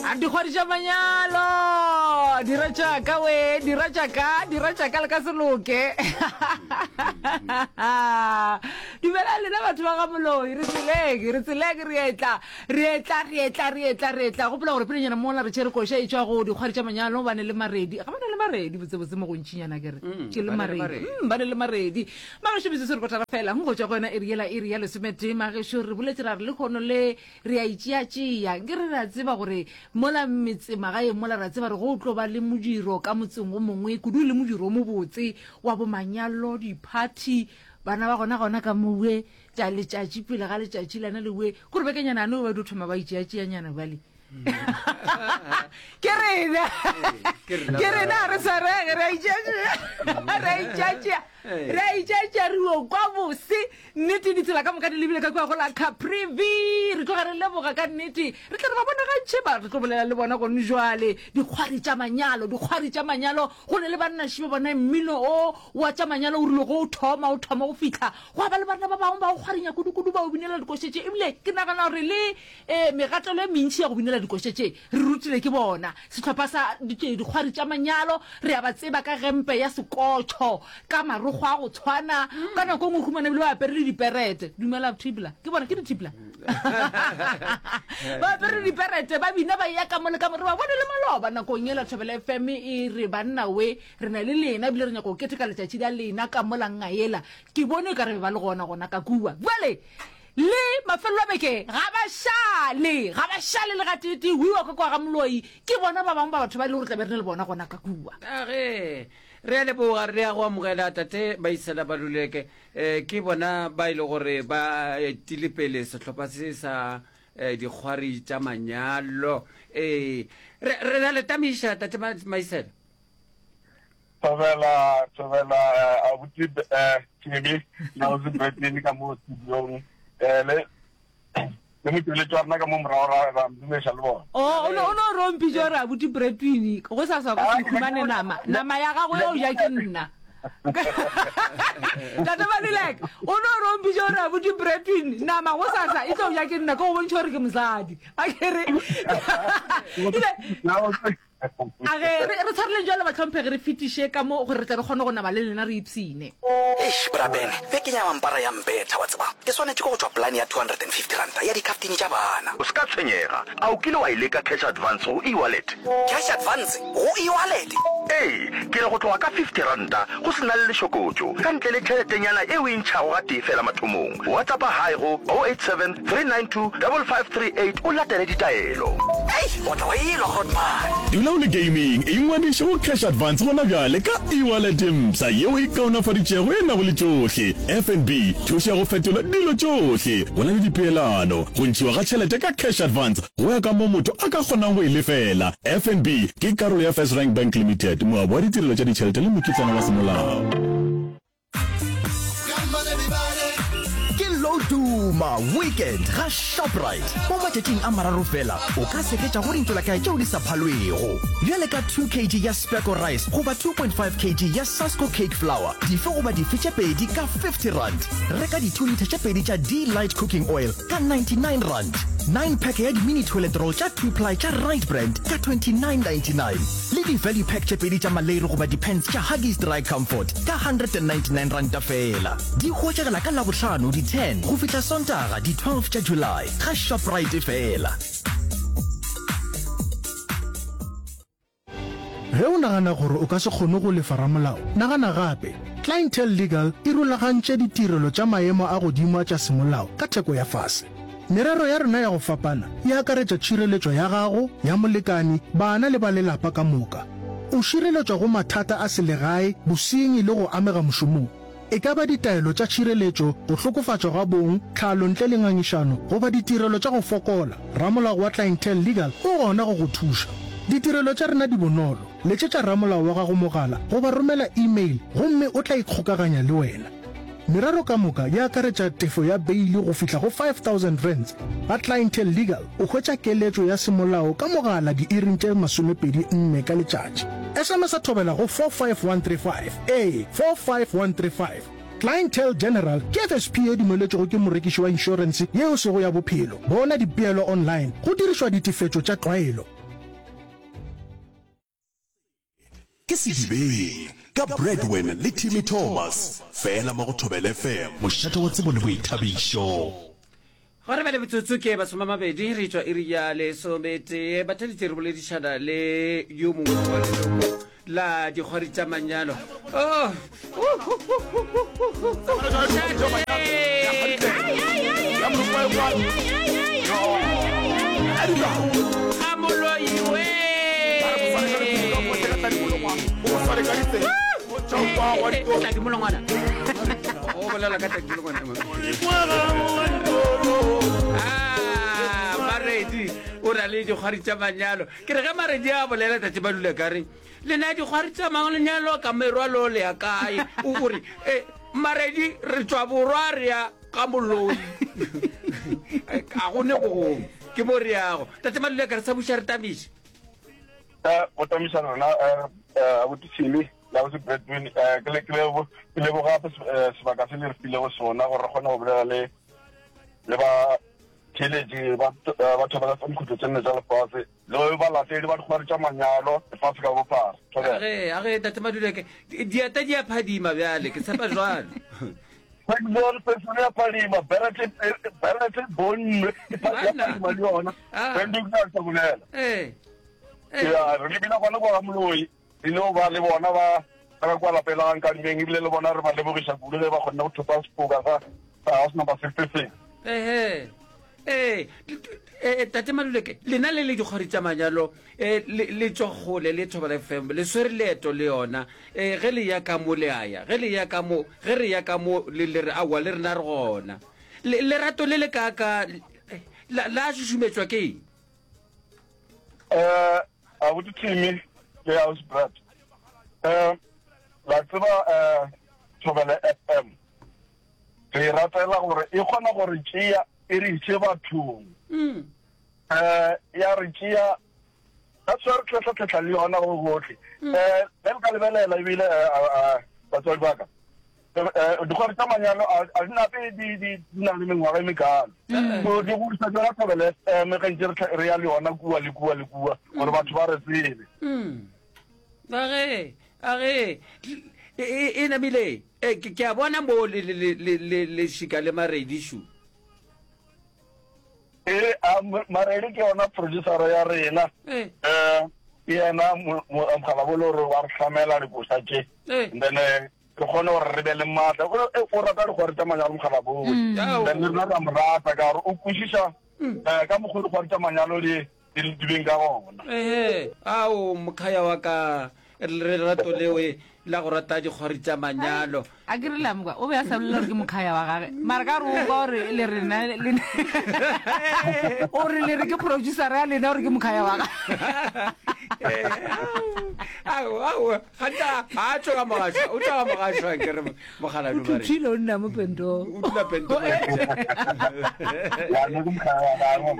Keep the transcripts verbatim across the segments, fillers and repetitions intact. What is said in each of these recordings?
Dikgwadi tša manyalo dira tšaka we dira tšaka dira tšaka le ka se loke. Dumela lena batho ba ga Moloi, re tseleng re tseleng re etla re etla re etla re etla re etla. Gopola gore pelenyana mola re tšere koša e tšwa go dikgwadi tša manyalo ba ne le maredi, ga ba ne le maredi botsebotse mo gontšinyana ke re ke le maredi mm, ba ne le maredi. Magešo metsotso re kotara fela go tšwa go yona iri yela iri ya lesometee. Magešo re boletše ra re lehono le re a itšeatšea nke re re a tseba gore mola metse magaeng mola re a tseba re go tlo ba le modiro ka motseng o mongwe kudu le modiro o mobotse wa bomanyalo diphathi bana ba gona gona ka mowe tša letšatši pele ga letšatši lana lewe kore bekenyana ane ba dio thoma ba itšeatšeanyana bjale ke rena ke rena re swarege re a itšeatšea re a itšeatšea re a itšeatšea re o kwa bose nnete ditsela ka moka di lebile ka kua go la Caprivi re tloga re leboga ka nnete re tle re ba bonagantšhe ba re tlo bolela le bona gone jwale dikgwari tša manyalo dikgwari tša manyalo go ne le bannaši ba bona mmino o wa tša manyalo o rile go o thoma o thoma go fihla gwa ba le banna ba bangwe ba o kgwarinya kudu-kudu ba o binela dikoše tše ebile ke nagana gore le um megatelo e mentši ya go binela dikoše tše re rutile ke bona sehlopha sa dikgwari tša manyalo re a ba tseba ka gempe ya sekotšho ka marokgo a go tshwana ka nako e nngwe humana ebile ba apere le diperete dumela thibla ke bona ke dithibla ba apere diperete ba bina ba ya ka mo le ka mo re ba bone le maloba nakong ela Thobela F M e re banna we re na le lena ebile re nyaka go keteka letšatši la lena ka mola ngaela ke bone ka re be ba le gona gona ka kua bjale le mafelelo a beke ga ba šale ga ba šale le gateetee wiwa ka kwa ga Moloi ke bona ba bangwe ba batho ba e le gore tla be re ne le bona gona ka kua. Age re a leboga re a go amogela tate Maisela Baluleke um ke bona ba e le gore ba etile pele sehlopha se sa um dikgwari tša manyalo ee re re a le tamiša tate Maisela. Thobela, thobela abuti Tshebe le ausi Bretini ka mo studiong eh le le motšweletši wa rena ka mo morago ra ra mdumeša le bona. O o no o no rompitše gore abuti Bretini go sa sa go se khumane nama nama ya gago ya o ja ke nna. Tate Maluleka o no rompitše gore abuti Bretini nama go sa sa e tlo ja ke nna ke go bontšha gore ke mosadi. A ke re ile A ge re re tshwareleng bjalo, bahlomphegi, re fetiše ka mo gore re tle re kgone go nama le lena re ipshine. Eish, Bra Ben, bekeng ya mampara ya mpetha, wa tseba. Ke swanetše ke go tšwa polane ya two hundred and fifty ranta ya dikhaftini tša bana. O se ka tshwenyega. A o kile wa e leka cash advance go e-wallet? Cash advance go e-wallet? Ee, ke re go tloga ka fifty ranta go se na le lešokotšo, ka ntle le tšheletenyana e o e ntšhago gatee fela mathomong. WhatsAppa hi go oh eight seven, three nine two, double five three eight o latele ditaelo. Ei, o tla wa elwa, Grootman. Dula o le gaming, ingwadiše go Cash Advance gona bjale ka e-wallet e mpsha yeo e kaonafaditšego e nago le tšohle. F N B, thušo ya go fetola dilo tšohle. Go na le dipeelano, go ntšhiwa ga tšhelete ka Cash Advance go ya ka mo motho a ka kgonang go e lefela. F N B ke karolo ya First Rank Bank Limited, moabi wa ditirelo tša ditšhelete le mokitlana wa semolao. Ke Loduma Weekend ga Shoprite. Mo matšatšing a mararo fela o ka seketša go dintšolakae tšeo di sa phalwego. Bjale ka two kg ya Specco rice goba two point five kg ya Sasco cake flour, dife goba dife tše pedi ka fifty rand. Reka di two litre tše pedi tša D-Light cooking oil ka ninety-nine rand. Nine pack ya di-mini toilet roll tša two ply tša Right Brand ka twenty-nine ninety-nine. Le di-value pack tše pedi tša maleiri goba di-pants tša Huggies Dry Comfort ka one hundred ninety-nine ranta fela. Di hwetšagala ka Labohlano di ten go fihla Sontaga di twelve tša July ga Shoprite fela. Ge o nagana gore o ka se kgone go lefa ramolao, nagana gape. Clientele Legal e rulagantše ditirelo tša maemo a godimo tša semolao ka theko ya fase. Merero ya rena ya go fapana e akaretša tšhireletšo ya gago, ya molekani, bana le ba lelapa ka moka. O šireletšwa go mathata a selegae, bosenyi le go amega mošomong. E ka ba ditaelo tša tšhireletšo, go hlokofatšwa ga bong, tlhalo ntle le ngangišano, goba ditirelo tša go fokola, ramolao wa Clientele Legal o gona go go thuša. Ditirelo tša rena di bonolo. Letšetša ramolao wa gago mogala goba romela email gomme o tla ikgokaganya le wena. Merero ka moka e akaretša tefo ya beili go fihla go five thousand rands. Ga Clientele Legal o hwetša keletšo ya semolao ka mogala diiring tše masomepedi nne ka letšatši. S M S thobela go four five one three five, ee, four five one three five. Clientele General ke F S P e dumeletšwego ke morekiši wa inšorense yeo e sego ya bophelo. Bona dipeelo online go dirišwa ditefetšo tša tlwaelo. Ke Sedibeng ka Bradwin le Timmy Thomas, fela mo go Thobela F M, mošate wa tsebo le boithabišo. Gona bjale metsotso ke masome a mabedi re tšwa iri ya lesometee. Batheletši re boledišana le yo mongwe wa leloko la dikgwari tša manyalo. Oh. Ga moloi we. Tladi molongwana. O bolela ka tladi molongwana. Ah, Maredi o ra le dikgwari tša manyalo. Ke re ge Maredi a bolela tate ba dula ka re lena dikgwari tša manyalo ka merwalo le ya kae? O o re eh Maredi re tšwa borwa re ya ga moloi. A go ne go gongwe. Ke mo re yago. Tate Maluleka re sa buša re tamiše. Eh, go tamiša rena eh, eh, abuti Simi le abuti Bradwin, eh, ke le- ke lebo- ke leboga gape se- eh, sebaka se le re filego sona gore re kgone go bolela le le ba theeletši ba eh, batho ba tsa dikhutlo tse nne tša lefase le balatedi ba dikgwari tša manyalo lefase ka bophara. Thobela. Age, age, Tate Maduleke, di- dieta di a phadima bjale, ke tshepa jwalo. Pekzon pesone ya phadima, Berete Berete bonnwe e pha- ya Banna. phadima le yona. Ah. Brandon ke sa bolela. Eh. Eh. Ya, re lebile gona kwa ga Moloi, re ile go ba le bona ba ba ka kwa lapeng la ga Nkadimeng, ebile le bona re ba lebogiša kudu ge ba kgonne go thopa sefoka sa sa house number sixty-six. Ehe. Eh, eh, Tate Maluleke, lena le le dikgwari tša manyalo, eh, le le tšwa kgole le Thobela F M, le swere leeto le yona. Eh, ge le ya ka mo le a ya, ge le ya ka mo, ge re ya ka mo le le re aowa le rena re gona. Le lerato le le kaaka la la šušumetšwa ke eng? Eh, abuti Timmy le House Brad. Eh, la tseba eh Thobela F M. Re e ratela gore e kgona gore tšea e re iše bathong. Mm. Eh, ya re tšea that's why re tlhahla-tlhahla le yona go gohle. Eh, ge re ka lebelela ebile eh, eh, batswadi ba ka. Eh, dikgwari tša manyalo a a di nape di di di na le mengwaga e mekalo. So di godiša tšona Thobela F M ge ntše re tlha- re ya le yona kua le kua le kua gore batho ba re tsebe. Mm. Age, age, e, e, e namile, e, ke, ke a bona mo le, le, le, le, le, le šika le Maredi šu. E, a, M- Maredi ke yona producer ya rena. Eh. Eh, ke yena mo- mo- mogala bolo gore wa re hlamela dikoša tše. Eh. And then eh, re kgone gore re be le maatla. O, eh, o rata dikgwari tša manyalo mogala bolo. Ao. Then le rena ra mo rata ka gore o kwešiša eh, ka mokgwa o dikgwari tša manyalo di di di beng ka gona. Ehe, ao mokhaya wa ka, re lerato leo la go rata dikgwari tša manyalo. A ke re la mokwa, o be a sa bolela gore ke mokhaya wa gage, mara ka re o kwa gore le rena le o re le re ke producer ya lena gore ke mokhaya wa gage. Ao, ao, ganta a tšwa ka mogašwa, o tšwa ka mogašwa ke re mogala O thuthile o nna mo pentong. O dula pentong. Ya, ne ke mokhaya wa gagwe.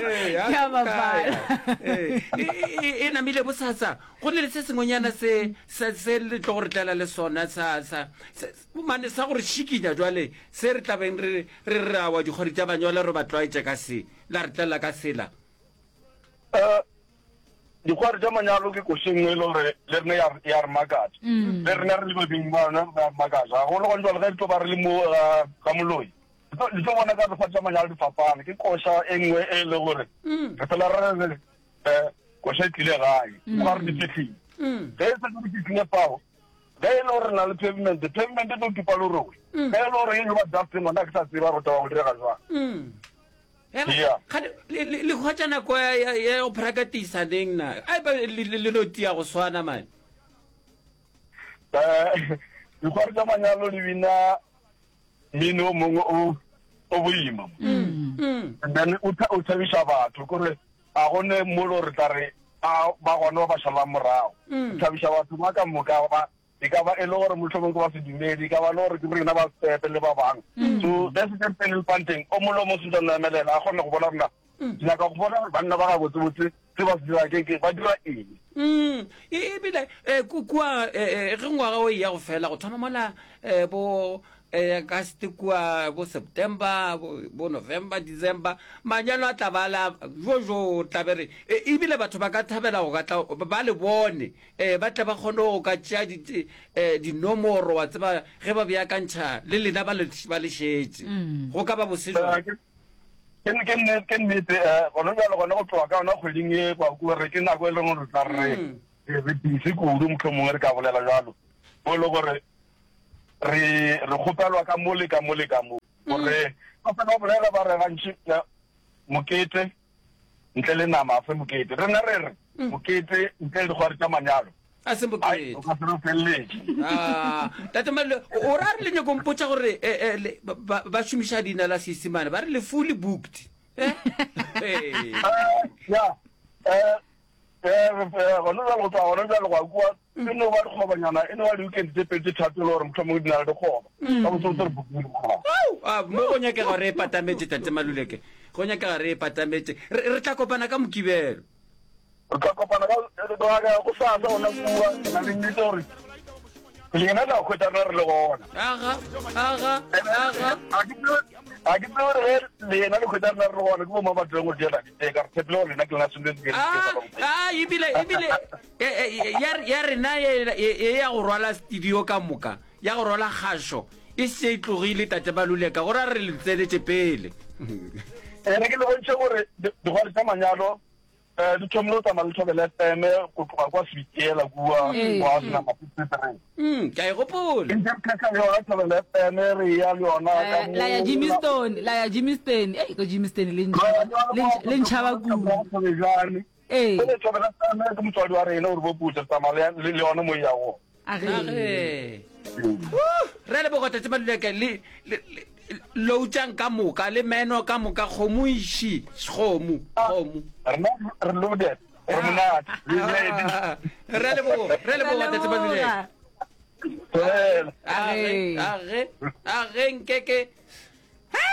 Ee, Ke a bapala. Ee, e, e, e namile bosasa go ne le se sengwenyana se se se le tlo go re tlela le sona sa sa se- mane sa gore šikinya jwale se re tlabeng re re re awa dikgwedi tša manyalo re ba tlwaetše ka se la re tlela ka sela. Eh, dikgwari tša manyalo ke koši nngwe e le gore le rena ya re- ya re makatša. Le rena re le babeng ba yona re ya re makatša. Gagolo gone jwale ge re tlo ba re le mo ga ga moloi. Le tlo le tlo bona ka dikgwari tša manyalo di fapana. Ke koša e nngwe e le gore re fela re re eh koša e tlile gae. Ga re di fihlile. Ge e setse di fihlile fao, ge e le gore re na le pavement, pavement e tlo tupa lerole. Ge e le gore e yo ba dusting gona ke sa tseba gore taba go direga jwang. Mm. Yeah. Kgane, le le- le hwetša nako ya ya- ya go practice neng na? Ai ba le le- le no tia go swana mane. Eh, dikgwari tša manyalo di bina mmino o mongwe o o boima. Mm. And then o tha- o thabiša batho kore a gone mo le gore tla re a ba gona ba ba šalang morago. Mm. O thabiša batho ba ka moka ba e ka ba e le gore mohlomong ke ba sedumedi, e ka ba le gore ke rena ba setepe le ba bangwe. So ge se se pele lepanteng o mongwe le o mongwe sentse a no emelela a kgone go bona rena. Ke nyaka go bona gore banna ba gabotsebotse se ba se dira ke ke ba dira eng. Mm. E ebile eh, ku- kua eh, eh, ge ngwaga o e ya go fela go thoma mola eh, bo eh August kua bo September bo, bo November December manyalo a tla ba la jo jo tla be re e, ebile batho ba ka thabela go ka tla ba le bone eh ba tle ba kgone go ka tšea di eh, dinomoro wa tseba ge ba beakantšha le lena ba le ba le šetše go ka ba bose jwang Ke ke nnete ke nnete eh gona bjale gona go tloga ka yona kgweding e kwa kua re ke nako e leng gore re tla re re busy kudu mohlomongwe re ka bolela jalo mo e le gore re re kgopelwa ka mo le ka mo le ka mo gore ba fela ba bolela ba re gantši eh, mokete ntle le nama a se mokete rena re re mokete ntle le dikgwari tša manyalo a se ai mokete o ka se re feleletše Ah, tate Malule, o ra re le nyako mpotša gore eh, eh, le- ba- ba ba šomiša leina la Seisemane ba re le fully booked Eh? Eh. ya eh eh gona bjale go tloga gona bjale go ya kua e no ba dikgobanyana e no ba di-weekend tse pedi tse thato e le gore mohlomongwe di na le dikgoba ka botsebotse re bookile dikgoba Au, ah, mo go nyakega re e patametše tate Maluleke go nyakega re e patametše re re tla kopana ka mokibelo re tla kopana ka ka- go sasa gona kua ke na le nnete gore lena la hwetša rena re le gona aga aga aga ga ke tsebe ga ke tsebe gore ge lena le hwetša rena re le gona ke bo mang ba tlileng go diela ditee ka re tshepile gore lena ke lena sentse ke Ah, ah, ebile ebile eh, eh, ya ya rena ye ye ya go rwala studio ka moka ya go rwala kgašo e se e tlogile tate Maluleka gore a re le tsenetše pele ene ke le bontšhe gore di- dikgwari tša manyalo um di thomile go tsamaya le Thobela F M go tloga kwa Sebitiela kua Ee. kwa senama fifty-three Mm, ke a e gopola e ntse re kgetha le yona Thobela F M re ya le yona ka Eh, la ya mo- Germiston la ya Germiston ei ko Germiston le Re ya ntšhaba le yona le ntš- le ntšhaba mo- kudu Thobejane. ee Jwale Thobela F M ke motswadi wa rena gore bo putse re tsamaya le le yona mo e ya gona a ge Age. Re leboga tate Maluleke le le- le- loutšang ka moka le meno ka moka kgomo iši kgomo kgomo rena re loaded re monate re ready Ah, re leboga re leboga tate Maluleke Fela. age Age. age age nkeke